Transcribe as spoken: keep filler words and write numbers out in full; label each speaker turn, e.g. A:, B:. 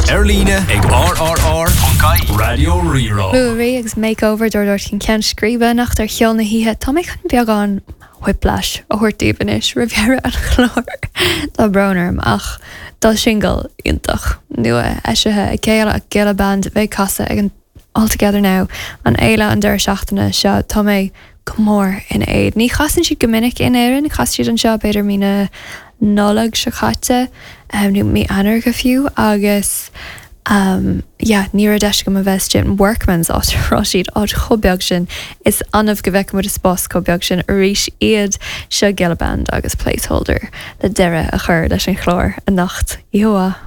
A: Ar líne ag R R R Raidió Rí-Rá.
B: Ruairí agus Makeover dúirt cin ceann scríbe anocht ar Cheol na hOíche. Tá mé chun beagán whiplash a thabhairt daoibh anois roimh dheireadh an chláir. Tá brón orm, ach tá singil iontach nua eisithe ag Giolla Giolla Band bheidh ag casadh ag an All Together Now, an fhéile an deireadh seachtaine seo. Tá mé go mór ina éad. Ní chasann siad go minic in Éirinn, chas siad anseo b'fhéidir mí na Nollag seo caite um, nó mí Eanáir go fiú, agus um, yeah, ní raibh deis agam a bheith in Workman's, áit a raibh siad, áit chomh beag sin. Is annamh go bhfeicimid i spás chomh beag sin arís iad. Seo Giolla Band agus Placeholder le deireadh a chur leis an chlár anocht. Ihuah.